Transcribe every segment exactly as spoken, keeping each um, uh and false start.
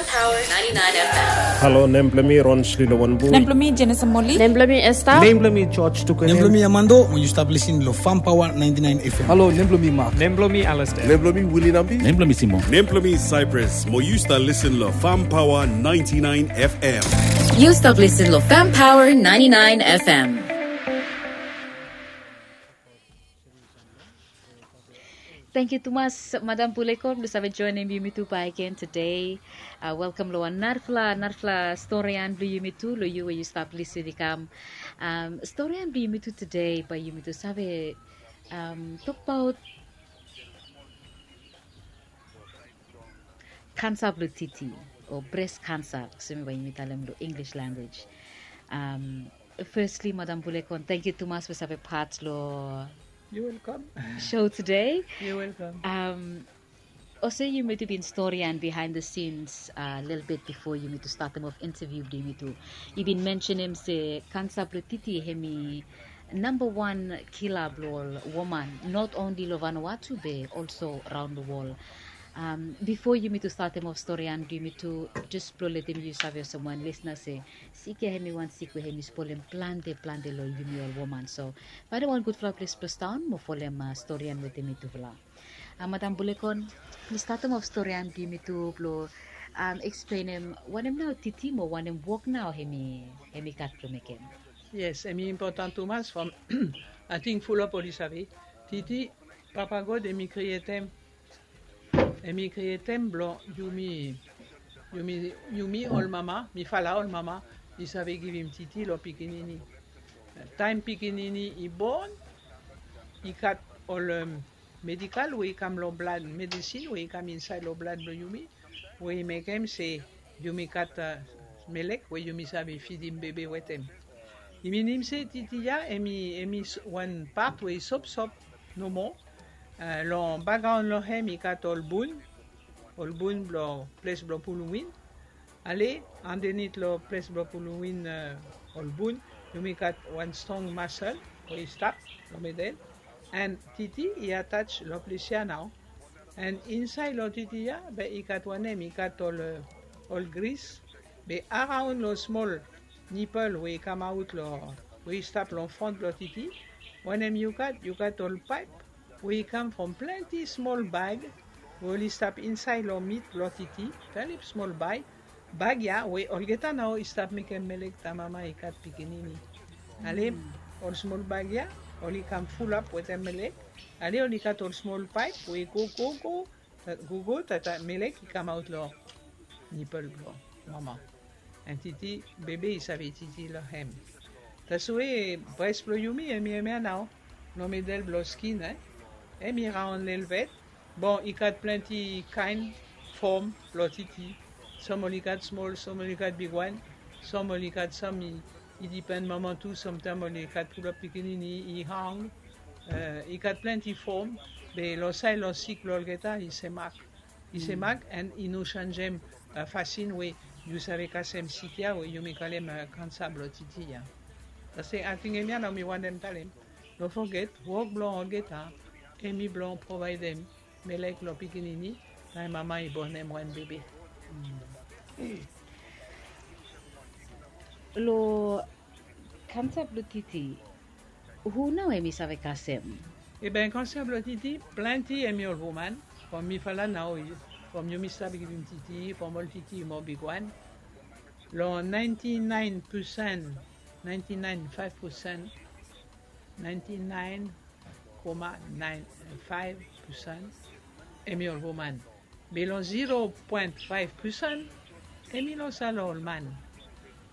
Power ninety-nine F M. Halo, nem blong mi Ron Slilowanbu. Nem blong mi Jenison Moli. Nem blong mi Esther. Nem blong mi George Tukunen. Nem blong mi Amando, mo yu stap lisin lo Farm Power ninety-nine F M. Halo, nem blong mi Mark. Nem blong mi Alistair. Nem blong mi Willie Nambi. Nem blong mi Simon. Nem blong mi Cyprus, mo yu stap lisin lo Farm Power ninety-nine F M. Yu stap lisin lo Farm Power ninety-nine F M. Tangkiu tumas, Madam Bulekon, blong save joenem yumitu bakegen tede. Uh, welkam lo wan narafala, narafala storian blong yumitu, lo yu we yu stap lisin i kam. Um, storian blong yumitu tede, bae yumitu save, um, tokbaot kansa blong titi, o breast cancer, olsem we yumi talem lo English language. Um, firstly, Madam Bulekon, tangkiu tumas we save pat lo You're welcome. Show tede. You're welcome. Um, olsem yumitu bin storian behind the scenes, uh, lelebet bifo yumitu statem of interview blong yumitu. Yu bin mensenem se kansa blong titi hemi namba wan kila blong ol woman, not only lo Vanuatu be also raon lo wol. Um, bifo yumitu statem of storian blong yumitu, jes blong letem yu save olsem wan lisna se sik ya hemi wan sik we hemi spolem plante, plante lo yumi ol woman. So faenem wan gudfala ples blong sidaon mo folem, uh, storian wetem mitufala. Uh, Madam Bulekon, blong statem of storian blong yumitu blong, um, eksplenem wanem nao titi mo wanem wok nao hemi, hemi gat blong mekem. Yes, hemi impotan tumas from ating fulap oli save. Titi, Papa God hemi krietem, hemi krietem blong yumi, yumi, yumi ol mama, mifala ol mama, i save givim titi lo pikinini. Taem pikinini i bon, i gat ol, um, medikal we i kam lo blad, medesin we i kam insaed lo blad blong yumi, we i mekem se yumi gat, uh, melek we yumi save fidim bebe wetem. I minim se titi ya, hemi, hemi s-, wan pat we i sopsop nomo, uh, lo bakgraon lo hem i gat ol bun, ol bun blo ples blo pulum win. Ale, andenit lo ples blo pulum win, uh, ol bun, yumi gat wan strong masel we i stap lo medel. An titi i ataj lo ples ya nao. An insaed lo titi ya, be i gat wanem, i gat ol, uh, ol gris. Be araon lo smol nipel we i kamaot lo, we i stap lo front blo titi, wanem yu gat, yu gat ol paep we i kam from plante smol bag we oli stap insaed lo mit blo titi, very smol bag, bag ya we olgeta nao i stap mekem melek taem mama i gat pikinini. Ale, ol smol bag ya oli kam fulap wetem melek. Ale, oli gat ol smol paep we i go, go, go, ta-, go, go, ta-, ta-, melek i kamaot lo nipel blo mama. An titi, bebe i save titi lo hem. Taswe bres blo yumi, hemi, hemia nao, lo medel blo skin, eh? Hemi raon lelebet. Bon, i gat plante kaen fom blo titi. Sam oli gat smol, sam oli gat bigwan, sam oli gat, sam i, i dipen mama tu, samtaem oli gat fulap pikinini, i hang. Uh, i gat plante fom, be lo saed lo sik blo olgeta i semak. I semak, an i no sanjem, uh, fasin we yu save kasem sik ya we yumi kalem, uh, kansa blo titi ya. Taswe ating hemia nao mi wantem talem. No foget, wok blo olgeta, hemi blo provaedem melek lo pikinini, taem mama i bonem wan bebe. Lo kansa blo titi, hu nao hemi save kasem? Eben, kansa blo titi, plante hemi ol woman, from mifala nao, from yumi stap givim titi, from ol titi mo bigwan. Lo ninety-nine percent, ninety-nine five percent, ninety-nine comma nine five percent, hemi ol woman. Be lo zero point five percent, hemi lo salo ol man.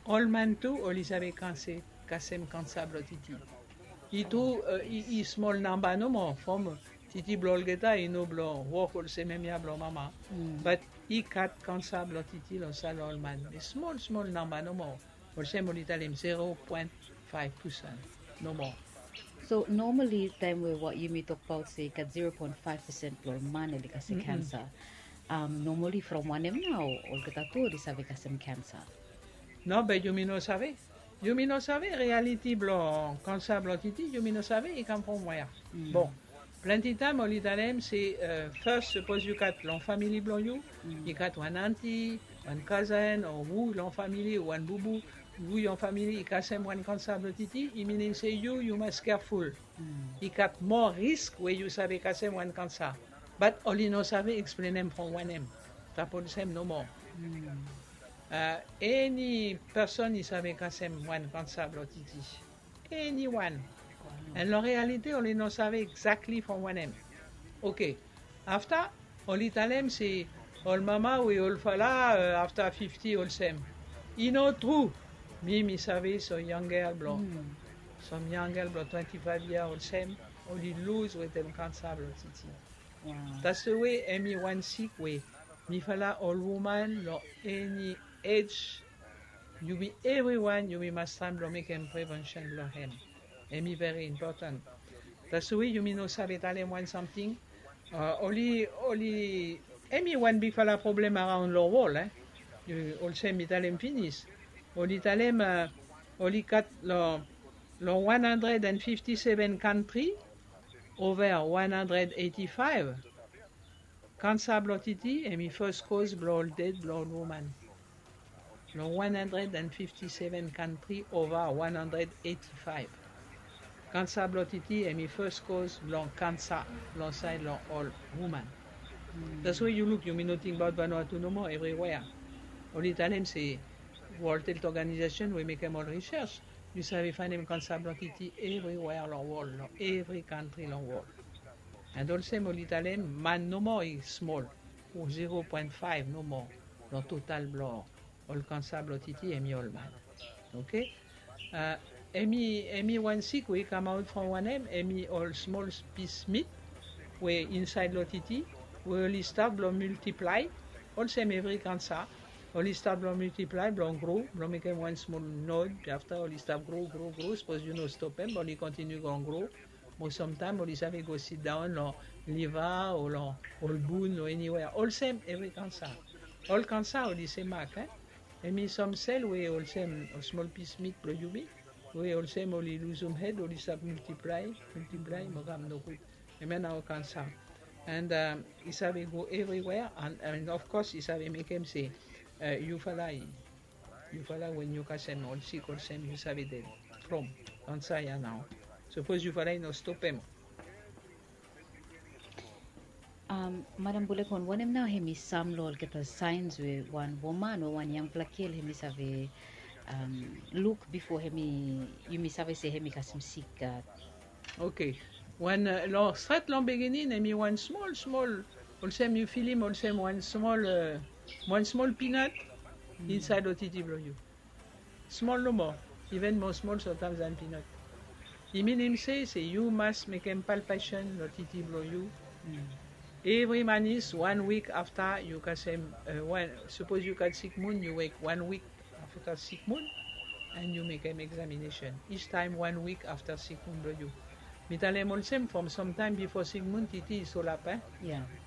Ol man tu, oli save kanse, kasem kansa blo titi. I tu, uh, i, i smol namba nomo, from titi blo olgeta, i no blo wok olsem hemia blo mama. Mm. But i gat kansa blo titi lo salo ol man. Be smol, smol namba nomo. Olsem oli talem zero point five percent, no moa. So normally taem we wa-, yumi tokbaot se i gat zero point five percent blo ol man oli kasem kansa. Um, normally from wanem nao olgeta tu oli save kasem kansa? No, be yumi no save. Yumi no save reality blo kansa blo titi, yumi no save i kam from wea. Mm. Bon, Plante taem oli talem se, fas, sapos yu gat long famili blong yu, i gat wan anti, wan kazen o hu long famili, wan bubu, hu long famili i kasem wan kansa blong titi, i minim se yu yu mas keaful. I gat moa risk we yu save kasem wan kansa. Bat oli no save eksplenem from wanem. Stap olsem nomo. Eni person i save kasem wan kansa blong titi? Eni wan. An long realite oli no save egzakli from wanem. Oke. Afta oli talem se ol mama we ol fala afta fifti olsem. I no tru. Mi mi save so yangel blong, som yangel blong twenti faev yia olsem oli luz wetem kansa blong titi. That's the way hemi wan sik we mifala ol woman long eni ej, yumi evriwan yumi mas taem blong mekem prevention blong hem. Hemi veri impoten. That's the way yumi no save talem wan samting. Oli, oli, hemi wan bigfala problem araon long wol, e. Olsem mi talem finis. Oli talem oli gat long, long wan handred an fifti seven kantri, ova wan handred eiti faev. Kansa blong titi hemi fas koz blong ol ded blong ol woman. Long wan handred an fifti seven kantri ova wan handred eiti faev. Kansa blong titi hemi fas koz blong kansa long saed long ol woman. That's why yu luk yumi no tingbaot Vanuatu nomo, evriwea. Oli talem se World Health Organization we mekem ol research, yu save faenem kansa blong titi evriwea long wol, long evri kantri long wol. An olsem oli talem man nomo i smol, zero poen faev nomo long total blong ol kansa blong titi hemi ol man. Oke. Hemi, hemi wan sik we i kamaot from wanem, hemi ol smol pis mit we insaed long titi we oli stap blong miltiplae. Olsem evri kansa, oli stap blong miltiplae, blong gro, blong mekem wan smol nod, afta oli stap gro, gro, gro. Sapos yu no stopem oli kontiniu blong gro. Mo samtaem oli save go sidaon long liva o long ol bun o eniwea. Olsem evri kansa. Ol kansa oli semak, e. Hemi sam sel we olsem ol smol pis mit blong yumi we olsem oli luzum hed, oli stap miltiplae, miltiplae mo kam nogud. Hemia nao kansa. An i save go evriwea, an of kos i save mekem se yufala i Yufala wen yu kasem ol sik olsem yu save ded from long saed ya nao. Sapos yufala i no stopem. Madam Bulekon, wanem nao hemi sam long olgeta saens we wan woman o wan yangpela gel hemi save luk bifo hemi, yumi save se hemi kasem sik? Oke. Wan long stret long beginning hemi wan smol smol, olsem yu filim olsem wan smol, wan smol pinot insaed long titi blong yu. Smol nomo, iven moa smol somtaem dan pinot. I minim se se yu mas mekem palpation long titi blong yu. Evri manis wan wik afta yu kasem, sapos yu gat sikmun yu wek wan wik afta sikmun, an yu mekem eksaminesen each taem wan wik afta sikmun blong yu. Mi talem olsem from samtaem bifo sikmun titi i solap, e.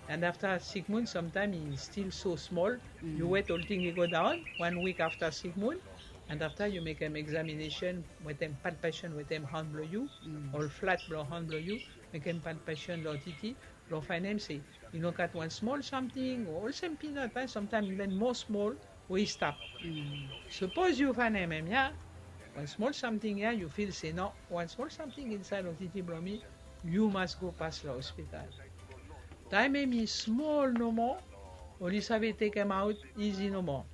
An afta sikmun samtaem i stil so smol. Yu wet olting i go daon wan wik afta sikmun. An afta yu mekem eksaminesen wetem palpation wetem han blong yu, ol flat blong han blong yu, mekem palpation long titi blong faenem se i no gat wan smol samting o olsem pinot, e, samtaem iven moa smol we i stap. Sapos yu faenem hemia, wan smol samting ya yu fil se no, wan smol samting insaed long titi blong mi, yu mas go pas long ospital. Taem hemi smol nomo, oli save tekemaot izi nomo.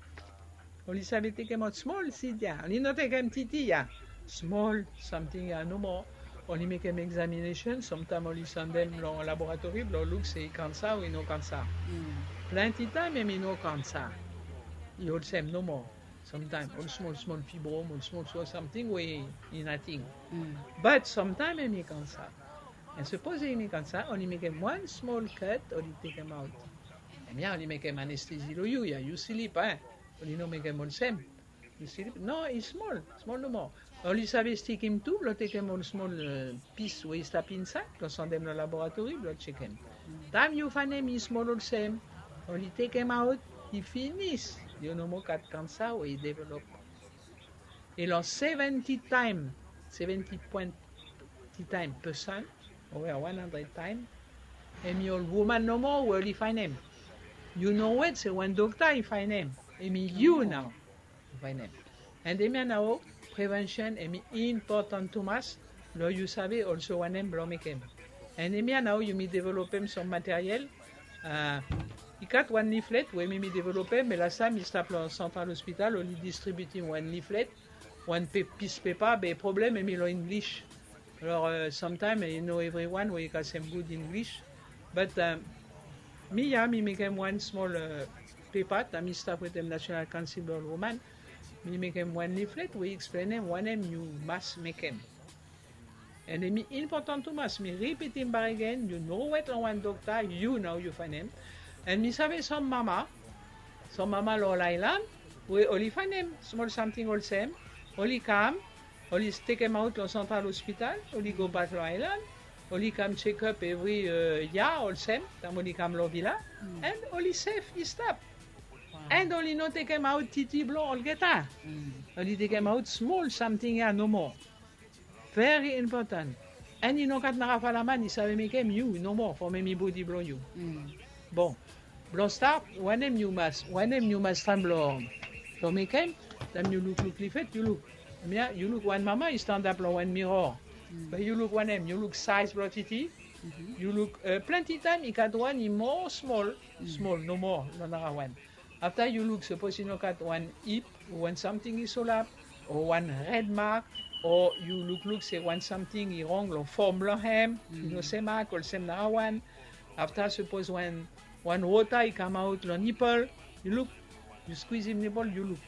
Oli save tekemaot smol sid ya, oli no tekem titi ya. Smol samting ya nomo. Oli mekem eksaminesen, samtaem oli sandem long laboratori blong luk se i kansa o i no kansa. Plante taem hemi no kansa. I olsem nomo. Samtaem ol smol smol fibrom, ol smol smol samting we i nating. Bat samtaem hemi kansa. An sapos hemi kansa, oli mekem wan smol kat, oli tekemaot. Hemia oli mekem anestezi long yu ya, yu slip, e. Oli no mekem olsem. Yu slip. No, i smol, smol nomo. Oli save stikim tu blong tekem ol smol pis we i stap insaed blong sandem long laboratori blong jekem. Taem yu faenem i smol olsem, oli tekemaot, i finis. Yu no moa gat kansa we i develop. I long seventi taem, seventi poen ti taem persen, o wan handred taem, Hemi ol woman nomo we oli faenem. Yu no wet se wan dokta i faenem. Hemi yu nao i faenem. And hemia nao prevention hemi important tumas. Lo yu save also wanem blo mekem. And hemia nao yumi developem som materiel. Uh, i gat wan leaflet we mi mi developem, me last time mi stap lo Central Hospital oli distributim wan leaflet, wan pe, pis pepa, be problem hemi lo English. Alors, uh, sometimes, you know, everyone we i gat sem good English. But um, mi ya mi mekem wan small uh, pepa, taem mi stap wetem National Council of Women. Mi mekem wan leaflet we i explainem wanem yu mas mekem. And hemi important tumas, mi ripitim bakegen, yu no wet lo wan dokta, yu nao yu faenem. And mi save som mama, som mama lo ol aelan we oli faenem smol samting olsem, oli kam, oli tekemaot lo Central Hospital, oli go bak lo aelan, oli kam check up evri uh, ya olsem taem oli kam lo vila. And oli sef i stap. And oli no tekemaot titi blo olgeta. Oli tekemaot smol samting ya nomo. Very important. And i no gat narafala man i save mekem, yu nomo, from hemi bodi blo yu. Bon, blo start, wanem yu mas, wanem yu mas taem blo, blo mekem? Taem yu lukluk leaflet, yu luk. Hemia yu luk wan mama i stanap lo wan mirror. Be yu luk wanem? Yu luk size blo titi. Yu luk uh, plante taem i gat wan i moa smol, smol nomo lo narawan. Afta yu luk, sapos i no gat wan ip o wan samting i solap, o wan red mark, o yu lukluk se wan samting i rong lo fom blo hem, i no semak olsem narawan. Afta sapos wan, wan wota i kamaot lo nipol, yu luk, yu skwizim nipol, yu luk.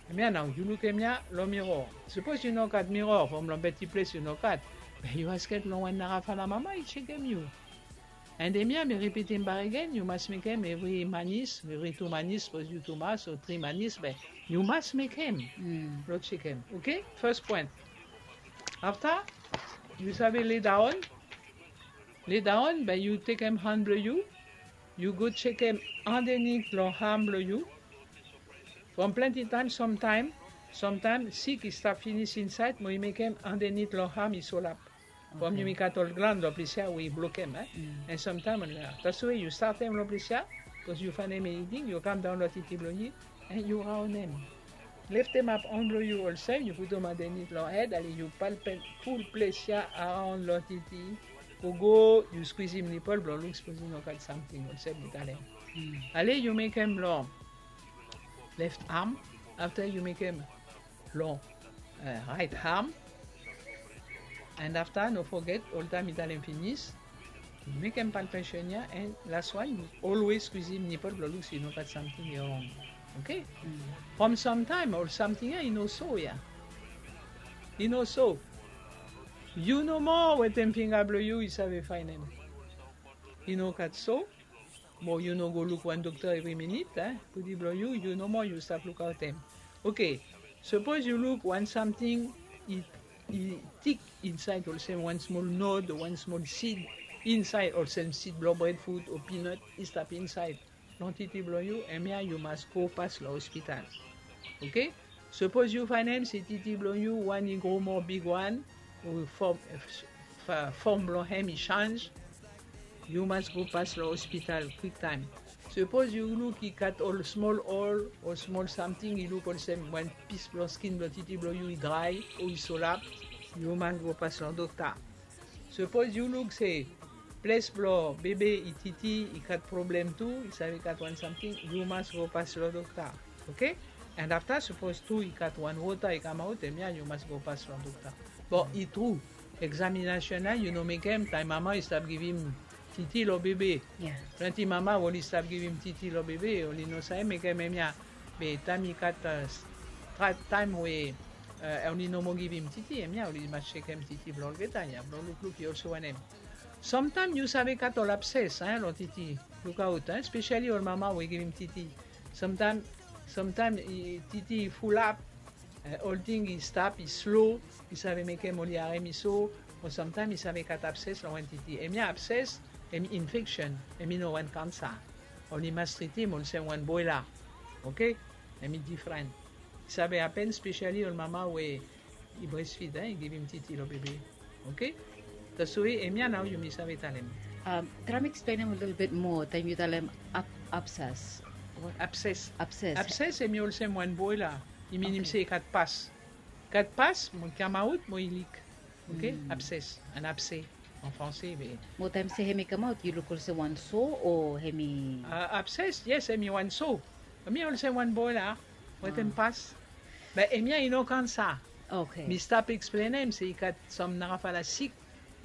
Hemia nao yu luk hemia lo mirror. Sapos yu no gat mirror, from lo beti ples yu no gat, be yu askem lo wan narafala mama i jekem yu. And hemia mi ripitim bakegen, yu mas mekem evri manis, evri tu manis, sapos yu tu mas o tri manis, be yu mas mekem. Lo jekem. Okay? First point. Afta, yu save lay down. Lay down, be yu tekem han blo yu, yu go jekem andenit lo ham blo yu. From plante taem, somtaem, somtaem sik i stap finis insaed, mo i mekem andenit lo ham i solap. From yumi gat ol glan lo ples ya we i blokem, eh? And somtaem oli, taswe yu statem lo ples ya, bikos yu faenem i ting, yu kamdaon lo titi blo yu, and yu raonem. Leftemap han blo yu olsem, yu putum andenit lo hed, ale yu palpem ful ples ya araon lo titi. Gogo, yu skwizim nipol blo luk sapos i no gat samting olsem mi talem. Ale yu mekem lo left arm, afta yu mekem lo uh, right arm. And afta, no foget, oltaem mi talem finis, mekem palpation ya, and last wan, yu always skwizim nipol blo luk se i no gat samting i rong. Okay? From somtaem ol samting ya i no so ya. I no so. Yu nomo wetem finga blo yu i save faenem. I no gat so. Mo yu no go luk wan dokta evri minit, eh? Bodi blo yu, yu nomo yu stap lukaotem. Okay, sapos yu luk wan samting i, i tik insaed olsem wan smol nod o wan smol sid insaed olsem sid blo breadfruit o peanut i stap insaed lo titi blo yu, hemia yu mas go pas lo hospital. Okay? Sapos yu faenem se titi blo yu wan i gro moa bigwan, o fom, fom blo hem i sanj, yu mas go pas lo hospital kwiktaem. Sapos yu luk i gat ol smol ol o smol samting i luk olsem wan pis blo skin blo titi blo yu i drae o i solap, yu mas go pas lo dokta. Sapos yu luk se ples blo bebe i titi i gat problem tu, i save gat wan samting, yu mas go pas lo dokta. Okay? And afta, sapos tu i gat wan wota i kamaot, hemia yu mas go pas lo dokta. Bon, i tru, examination ya yu no mekem taem mama i stap givim titi lo bebe. Plante mama oli stap givim titi lo bebe, oli no save mekem hemia. Be taem i gat uh, taem we uh, oli no moa givim titi, hemia oli mas jekem titi blo olgeta ya blo lukluk i olsem wanem. Somtaem yu save gat ol abses, eh, lo titi. Lukaot, eh, especially ol mama we givim titi. Somtaem, somtaem titi i fulap, eh, olting i stap, i slo, i save mekem oli harem i so, o somtaem i save gat abses lo wan titi. Hemia abses, hemi infection, hemi no wan kansa. Oli mas tritim olsem wan boela. Okay? Hemi difren. I save hapen especially ol mama we i breastfeed, eh, i givim titi lo bebe. Okay? Taswe hemia nao yumi save talem. Traem eksplenem a little bit moa taem yu talem abses. Abses. Abses. Abses hemi olsem wan boela. I minim se i gat pas. I gat pas mo i kamaot mo i lik. Oke. Abses. An abse an franse be. Mo taem se hemi kamaot yu luk olsem wan so o hemi? Abses, yes, hemi wan so. Hemi olsem wan boela wetem pas. Be hemia i no kansa. Oke. Mi stap eksplenem se i gat sam narafala sik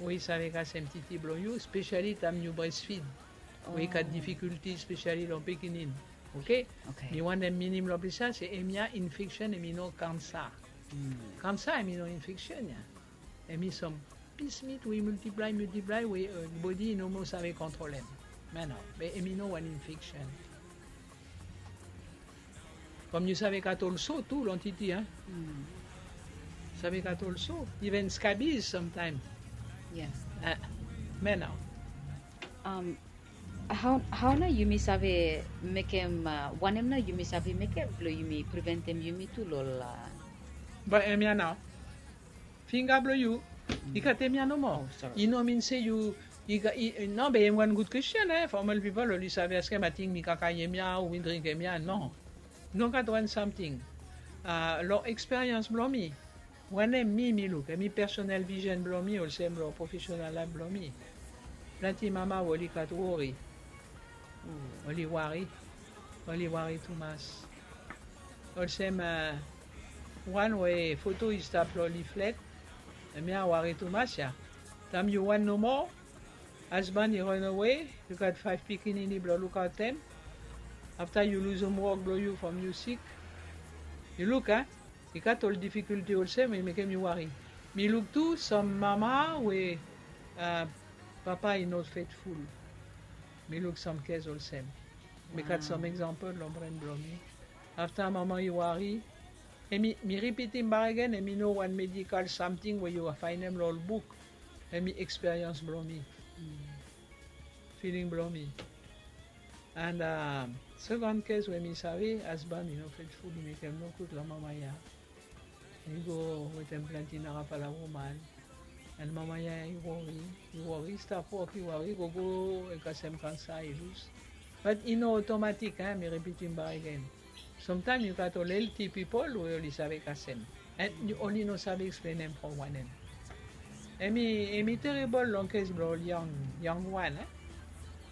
we i save kasem titi blong yu, spesiali taem yu bresfid we i gat difikulti spesiali long pikinini. Oke. Mi wantem minim long ples ya se hemia infeksen, hemi no kansa. Kansa hemi no infeksen ya. Hemi sam pismit we i miltiplae miltiplae we bodi i no moa save kontrol hem. Mena be hemi no wan infeksen. From yu save gat ol so tu long titi a. Save gat ol so, iven skabiz samtaem. Mena. Hao nao yumi save mekem, wanem nao yumi save mekem blong yumi preventem yumi tu long ol? Be hemia nao, finga blong yu i gat hemia nomo. I no min se yu i gat, no, be hem wan gud kwestin e, from ol pipol oli save askem ating mi kakae hemia o mi dring hemia. No. No gat wan samting. Long eksperians blong mi, wanem mi mi luk, hemi personal vision blong mi olsem long profesenal laef blong mi. Plante mama we oli gat wori. Oli wari. Oli wari tumas. Olsem wan we foto i stap long liflet. Hemia wari tumas ya. Taem yu wan nomo, asban i ran awe, yu gat faef pikinini blong lukaotem. Afta yu luzum wok blong yu from yu sik. Yu luk a, i gat ol difikulti olsem we i mekem yu wari. Mi luk tu sam mama we papa i no fetful. Mi luk sam kes olsem. Mi gat sam eksampol long bren blong mi. Afta mama i wari, hemi, mi ripitim bakegen, hemi no wan medikal samting we yu faenem long ol buk. Hemi eksperians blong mi. Filing blong mi. An sekan kes we mi save, asban i no fetful, i mekem nogud long mama ya. I go wetem plante narafala woman. An mama ya i wori, i wori, i stap wok, i wori, i gogo, i kasem kansa, i lus. Bat i no otomatik, mi ripitim bakegen. Samtaem yu gat ol elti pipol we oli save kasem. An oli no save eksplenem from wanem. Hemi, hemi teribol long kes blong ol yang, yang wan.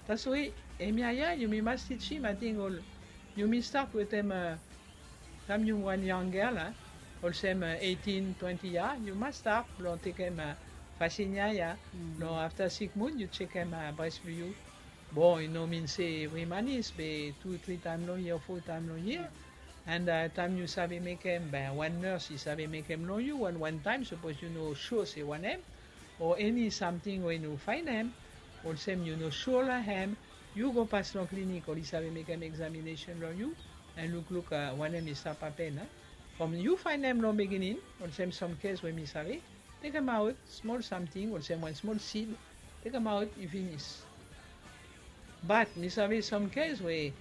Taswe hemia ya yumi mas tijim, ating ol, yumi stat wetem taem yu wan yang gel, olsem eitin, twenti yia, yu mas stat blong tekem fasin ya ya. Long afta sik mun yu jekem bres blong yu. Bon, i no min se evri manis, be tu, tri taem long yia, fo taem long yia. An taem yu save mekem, be wan nes i save mekem long yu wan wan taem, sapos yu no sua se wanem, o eni samting we yu no faenem, olsem yu no sua long hem, yu go pas long klinik, oli save mekem eksaminesen long yu, an lukluk wanem i stap hapen. From yu faenem long biginin, olsem sam kes we mi save, tekemaot smol samting olsem wan smol sid, tekemaot, i finis. Bat mi save sam kes we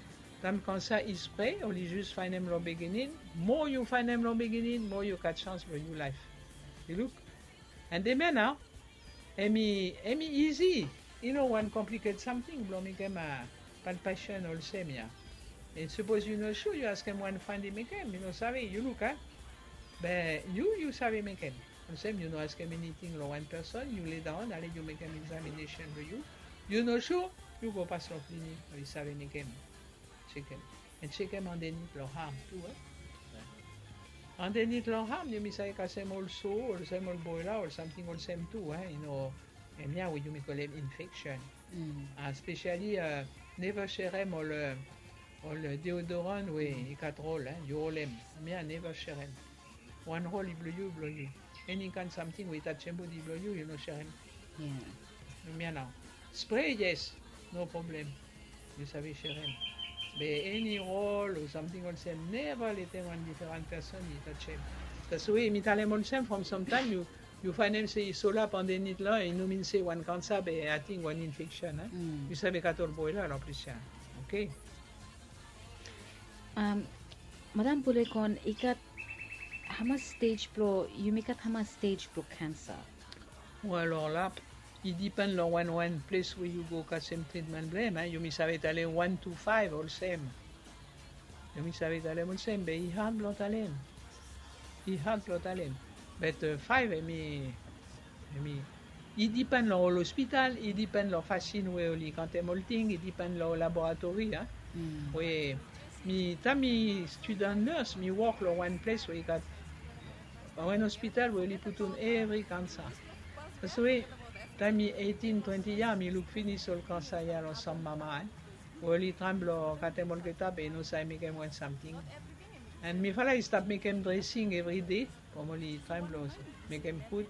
taem kansa i spre, oli jus faenem long biginin. Moa yu faenem long biginin, moa yu gat sans blong yu laef. Yu luk. An hemia nao, hemi, hemi izi. I no wan kompliket samting blong mekem palpesen olsem ya. An sapos yu no sua, yu askem wan fandi mekem, mi no save, yu luk a. Be yu, yu save mekem. Olsem yu no askem eniting long wan peson, yu ledaon, ale yu mekem eksaminesen blong yu. Yu no sua, yu go pas long klinik, oli save mekem. Jekem. An jekem andenit long ham tu e. Andenit long ham yumi save kasem ol so, olsem ol boela, ol samting olsem tu e. Yu no, hemia we yumi kolem infeksen. Spesiali neva serem ol, ol deodoran we i gat rol, yu rolem. Hemia neva serem. Wan rol i blong yu, i blong yu. Eni kaen samting we i tajem bodi blong yu, yu no serem. Hemia nao. Spre, yes, no problem. Yu save serem. Be eni rol o samting olsem, neva letem wan diferan peson i tajem. Taswe mi talem olsem from samtaem yu, yu faenem se i solap andenit la, i no min se wan kansa be ating wan infeksen. Yu save gat ol boela long ples ya. Oke. Madam Pulekon, i gat hamas stej blong, yumi gat hamas stej blong kansa? Wel, olap, I dipen long wan wan ples we yu go kasem tritmen blong hem, yumi save talem wan tu faev olsem. Yumi save talem olsem be i had blong talem. I had blong talem. Be faev hem i hem i i dipen long ol ospital, i dipen long fasin we oli kantem ol ting, i dipen long ol laboratori. We mi taem mi student nurse mi wok long wan ples we i gat wan ospital we oli putum evri kansa. Save taem mi eitin twenti yia mi luk finis ol kansa ya long sam mama we oli traem blong katem olgeta be i no save mekem wan samting. An mifala i stap mekem dresing evride from oli traem blong mekem gud.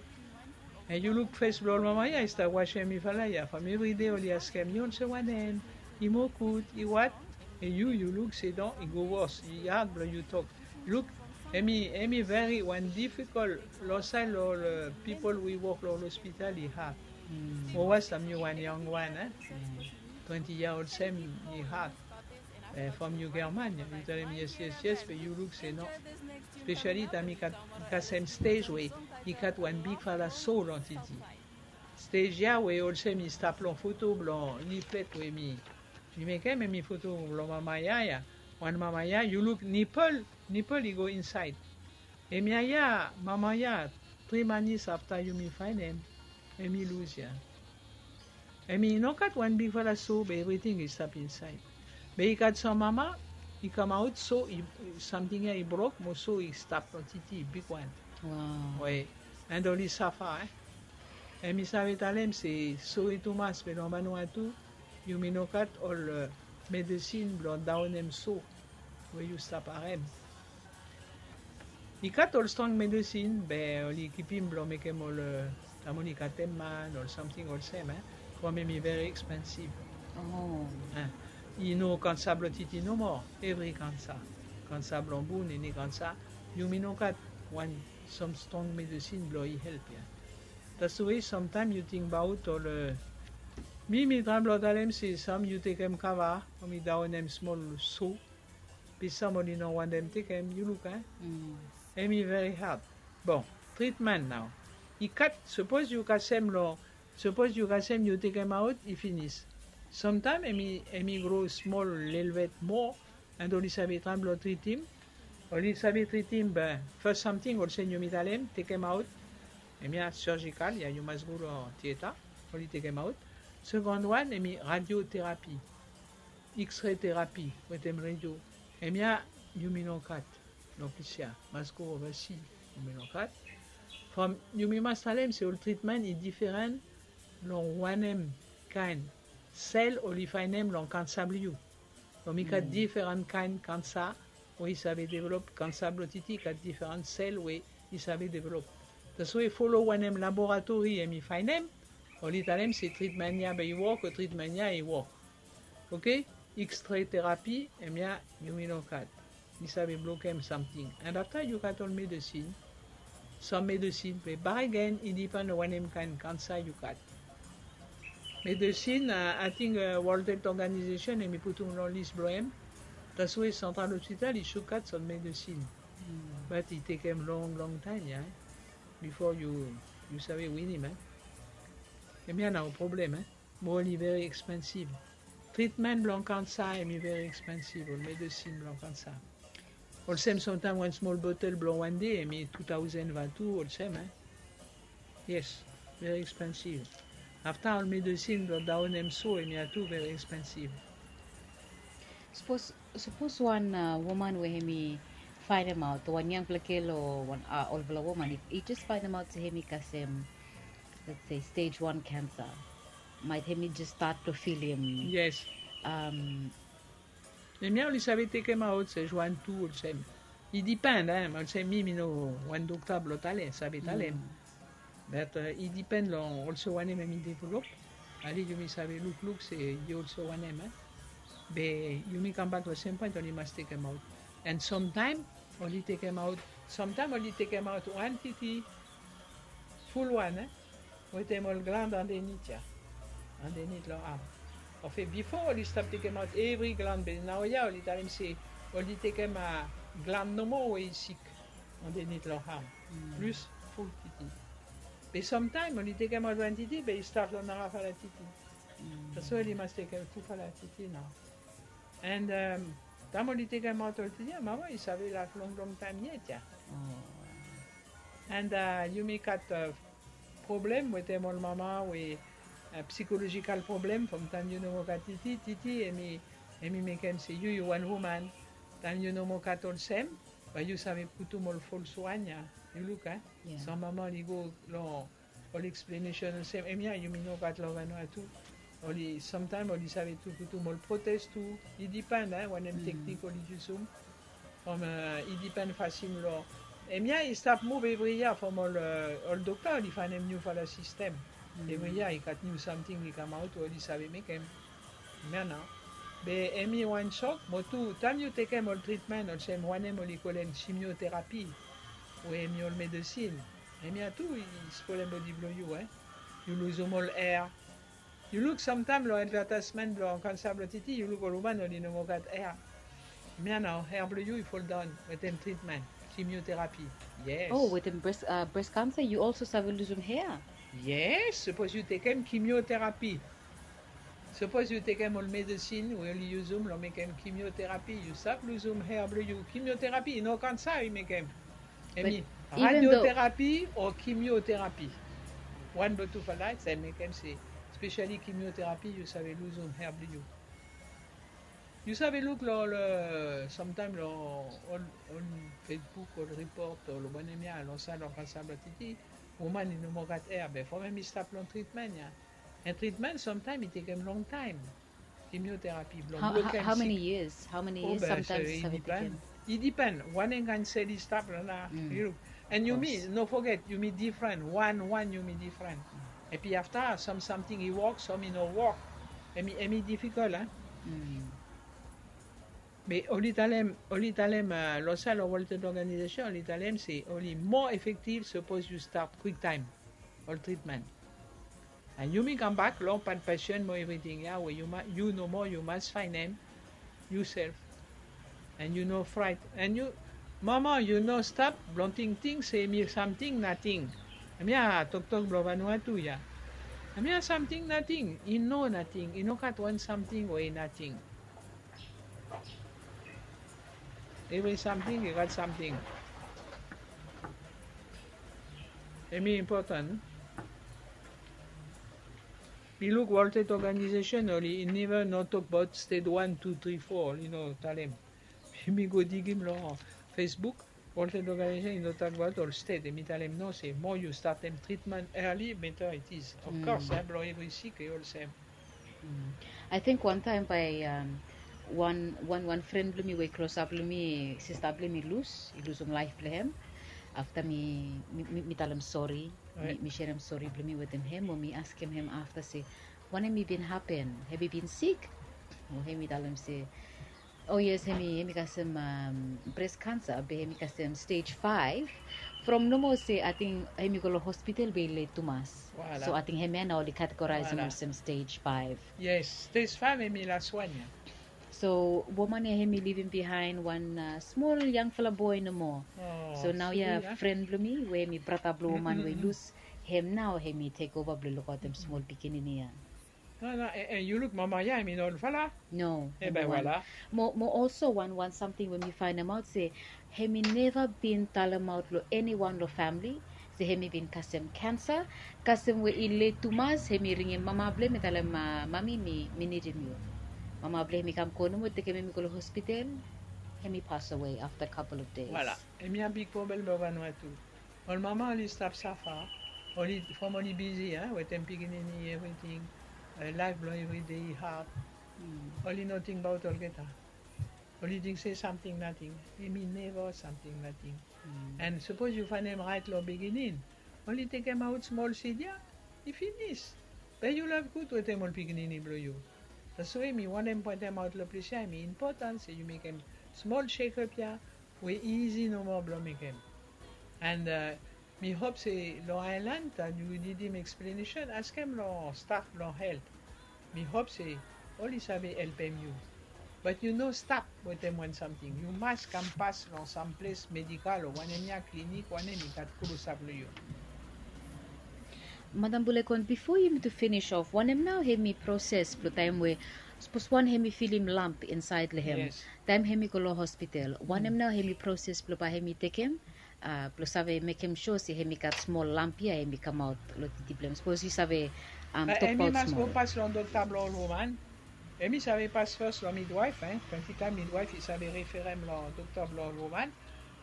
An yu luk fes blong ol mama ya i stap wasem mifala ya from evride oli askem yu olsem wanem, i moa gud i wat? An yu yu luk se no, i go wos, i had blong yu tok. Luk, hem i hem i veri wan difikol long saed long ol pipol we i wok long ol ospital i had. Mo was taem yu wan yong wan a twenti yia olsem i had. From yu german yu talem yes yes yes be yu luk se no. Spesiali taem i gat kasem stej we i gat wan bigfala so long titi. Stej ya we olsem i stap long foto blong liflet we mi mi mekem hem i foto blong mama ya ya. Wan mama ya yu luk nipel nipel i go insaed. Hemia ya mama ya tri manis afta yumi faenem hem i lus ya. Hem i no gat wan bigfala so be evriting i stap insaed. Be i gat sam mama i kamaot so samting ya i brok mo so i stap long titi i bigwan. Oe. An oli safa e. Hem i save talem se sore tumas be long Vanuatu yumi no gat ol medesin blong daonem so we yu stap harem. I gat ol strong medesin be oli kipim blong mekem ol taem oli katem man ol samting olsem. From hem i veri ekspensiv. I no kansa blong titi nomo, evri kansa. Kansa blong bun, eni kansa. Yumi no gat wan sam strong medesin blong i help ya. That's why samtaem yu tingbaot ol mi mi traem blong talem se sam yu tekem kava o mi daonem smol so. Be sam oli no wantem tekem, yu luk a. Hem i veri had. Bon, tritmen nao. I gat sapos yu kasem long sapos yu kasem yu tekemaot i finis. Samtaem hem i gro smol lelebet moa. And oli save traem blong tritim. Oli save tritim be fas samting olsem yumi talem tekemaot. Hemia surgical ya yu mas go long tieta. Oli tekemaot. Sekond wan hem i radioterapi. X-ray terapi wetem radio. Hemia yumi no gat. Long ples ya mas go ovasi. Yumi no gat. From yumi mas talem se ol tritmen i diferan long wanem kaen sel oli faenem long kansa blong yu. From i gat diferan kaen kansa we i save develop. Kansa blong titi i gat diferan sel we i save develop. That's why folo wanem laboratori hem i faenem. Oli talem se tritmen ya be i wok o tritmen ya i wok. Oke. X-ray terapi hemia yumi no gat. I save blokem samting. And afta yu gat ol medesin. Sam medesin be bakegen i dipen long wanem kaen kansa yu gat. Medesin ating World Health Organization hem i putum long lis blong hem. That's why Central Hospital i suk gat sam medesin. Bat i tekem long long taem ya bifo yu save winim. Hemia nao problem. Mo oli veri ekspensiv. Tritmen blong kansa hem i veri ekspensiv ol medesin blong kansa. Olsem samtaem wan smol botel blong wan de hem i tu taosen vatu olsem. Yes. Veri ekspensiv. Afta ol medesin blong daonem so hem i atu veri ekspensiv. Sapos wan woman we hem i faenemaot wan yangpela gel o wan olfala woman i jes faenemaot se hem i kasem let's say stage one cancer. Maet hem i jes stat blong filim. Yes. Hemia oli save tekemaot stage one tu olsem. I dipen olsem mi mi no wan dokta blong talem save talem. Bat i dipen long olsem wanem hem i develop. Ale yumi save lukluk se i olsem wanem. Be yumi kambak long sem poen oli mas tekemaot. And samtaem oli tekemaot. Samtaem oli tekemaot wan titi ful wan wetem ol gland andenit ya. Andenit long am. Ofe bifo oli stap tekemaot evri gland be naoia oli talem se oli tekem gland nomo we i sik. Andenit long am. Plis ful titi. Be samtaem oli tekemaot wan titi be i stat long narafala titi. Taswe oli mas tekem tufala titi nao. And taem oli tekemaot ol titi ya, mama i save laef long long taem yet ya. And yumi gat problem wetem ol mama we psikolojikal problem from taem yu no moa gat titi. Titi em i mekem se yu yu wan woman, taem yu no moa gat olsem, bae yu save putum ol fals wan ya. Yu luk a, sam mama oli go long ol eksplenesen olsem, hemia yumi no gat long Vanuatu. Oli samtaem oli save tu putum ol protes tu. I dipen a wanem teknik oli yusum. From i dipen fasin long, hemia i stap muv evri yia from ol ol dokta oli faenem niufala sistem. Evri yia i gat niu samting i kamaot we oli save mekem. Hemia nao. Be hemi wan sok mo tu taem yu tekem ol tritmen olsem wanem oli kolem kimioterapi, we hemi ol medesin, hemia tu i spolem bodi blong yu e. Yu luzum ol er. Yu luk samtaem long advataesmen blong kansa blong titi, yu luk ol woman oli no moa gat er. Hemia nao er blong yu i foldaon wetem tritmen, kimioterapi. Yes. Oh, wetem bres bres kansa yu olso save luzum er? Yes, sapos yu tekem kimioterapi. Sapos yu tekem ol medesin we oli yusum long mekem kimioterapi, yu save luzum er blong yu. Kimioterapi i no kansa i mekem. Hemi radioterapi o kimioterapi. Wan blong tufala i save mekem se spesiali kimioterapi yu save luzum er blong yu. Yu save luk long ol samtaem long ol ol Facebook ol ripot ol wanem ya long saed long kansa blong titi, woman i no moa gat er be from hemi stap long tritmen ya. And tritmen samtaem i tekem longtaem. Kimioterapi blong blokem sik. How many years? How many years sometimes i save tekem? I dipen wanem kaen sel i stap long nao. Yu luk. And yumi no foget yumi difren. Wan wan yumi difren. Epi afta sam samting i wok, sam i no wok. Hemi difikol a. Be oli talem, oli talem long saed long World Health Organization oli talem se oli moa efektiv sapos yu stat kwiktaem ol tritmen. And yumi kambak long pat pesen mo evriting ya we yu nomo yu mas faenem yusef. And yu no fraet and yu mama yu no stap blong tingting se hemi samting nating. Hemia toktok blong Vanuatu ya. Hemia samting nating i no nating, i no gat wan samting we i nating. Evri samting i gat samting. Hemi impoten. Mi luk World Health Organization oli neva no tokbaot stet wan, tu, tri, fo, oli no talem. Mi go digim long Facebook, World Health Organization i no talem abaot ol stet, hemi talem no se mo yu statem tritmen early better it is. Of course blong evri sik i olsem. Ating wantaem bae wan wan wan fren blong mi we i klosap long mi, sista blong mi i lus, i lusum laef blong hem. Afta mi mi talem sori, mi serem sori blong mi wetem hem mo mi askem hem afta se wanem i bin hapen, hem i bin sik? Mo hem i talem se o yes, hem i kasem bres kansa be hem i kasem stej faef. From nomo se ating hem i go long hospital be i let tumas. So ating hemia nao oli kategoraesem olsem stej faef. Yes, stej faef hem i laswan ya. So woman ya hem i livim bihaen wan smol yangfala boe nomo. So naoia fren blong mi we hem i brata blong woman we i lus, hem nao hem i tekova blong lukaotem smol pikinini ya. No no, yu luk mama ya hem i no olfala. No, hem i wan. Mo olso wan wan samting we mi faenemaot se hem i neva bin talemaot long eniwan long famle se hem i bin kasem kansa. Kasem we i let tumas hem i ringim mama blong hem i talem, mami, mi nidim yu. Mama blong hem i kam go nomo tekem hem i go long hospital. Hem i pas awe afta kapol of des. Hemia big problem blong Vanuatu. Ol mama oli stap safa. Oli from oli bisi a wetem pikinini evriting. Laef blong evride i had. Oli no tingbaot olgeta. Oli ting se samting nating. Hem i neva samting nating. And sapos yu faenem raet long biginin, oli tekemaot smol sid ya, i finis. Be yu laef gud wetem ol pikinini blong yu. Taswe mi wantem poentemaot long ples ya hem i impoten se yu mekem smol sekap ya we i isi nomo blong mekem. And mi hop se long aelan taem yu nidim eksplenesen, askem long staf blong helt. Mi hop se oli save helpem yu. Bat yu no stap wetem wan samting. Yu mas kam pas long sam ples medikal o wanem ya, klinik, wanem i gat klosap long yu. Madam Bulekon, bifo yumi tu finis of, wanem nao hemi proses blong taem we sapos wan hemi filim lamp insaed long hem, taem hemi go long hospital, wanem nao hemi proses blong bae hemi tekem blong save mekem sua se hemi gat smol lamp ia hemi kamaot long titi blong hem? Sapos yu save tokbaot smol. Hemi mas go pas long dokta blong ol woman. Hemi save pas fes long midwaef. Plante taem midwaef i save referem long dokta blong ol woman.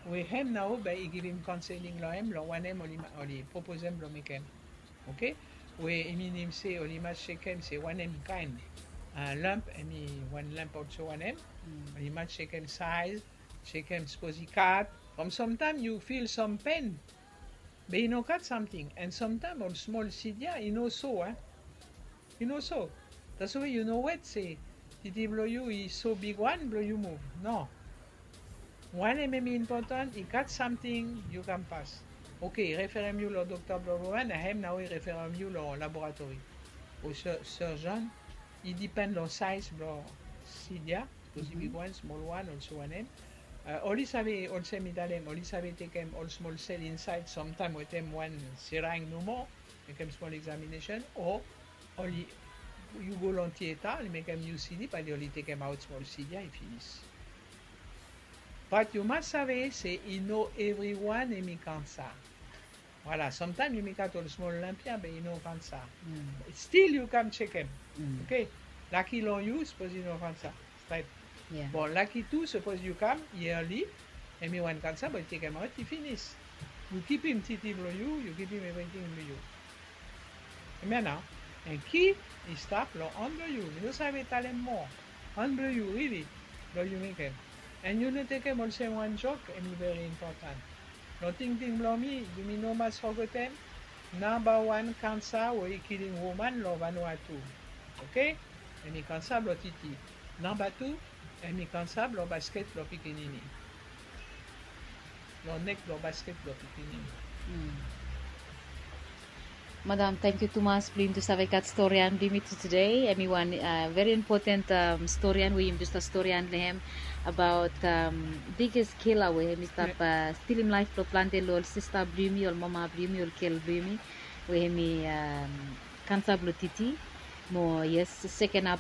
We hem nao bae i givim kaonseling long hem long wanem oli proposem blong mekem. Oke. We i minim se oli mas jekem se wanem kaen lamp, hemi wan lamp olso wanem. Oli mas jekem saez, jekem sapos i kat. From samtaem yu fil sam pen, be i no gat samting. An samtaem ol smol sid ia i no so a. I no so. Taswe yu no wet se titi blong yu i so bigwan blong yu muv. No. Wanem hemi impoten, i gat samting yu kam pas. Oke, i referem yu long dokta blong ol woman, na hem nao i referem yu long laboratori o surgeon. I dipen long saez blong sid ia. Sapos i bigwan, smolwan, olso wanem. Oli save, olsem mi talem, oli save tekem ol smol sel insaed samtaem wetem wan seraeng nomo, mekem smol eksaminesen, o oli, yu go long tieta, oli mekem UCD, bae oli tekemaot smol sid ia, i finis. Bat yu mas save se i no evriwan hemi kansa. Voilà, samtaem yumi gat ol smol lamp ia be i no kansa. Stil yu kam jekem. Oke. Laki long yu sapos i no kansa. Stret. Bon, laki tu sapos yu kam yearly, hemi wan kansa be i tekemaot, i finis. Yu kipim titi blong yu, yu kipim evriting blong yu. Hemia nao. An ki i stap long han blong yu. Mi no save talem moa. Han blong yu, rili, blong yu mekem. An yu no tekem olsem wan jok, hemi veri impoten. Long tingting blong mi, yumi no mas fogetem, namba wan kansa we i kilim woman long Vanuatu, oke, hemi kansa blong titi. Namba tu, hemi kansa blong basket blong pikinini. Long nek blong basket blong pikinini. Madam, tangkiu tumas blong yumi tu save gat storian blong yumi tu tede. Hemi wan veri impoten storian we yumi tu stap storian long hem abaot biges kila we hemi stap stilim laef blong plante long ol sista blong yumi, ol mama blong yumi, ol gel blong yumi, we hemi kansa blong titi. Mo yes, seken hap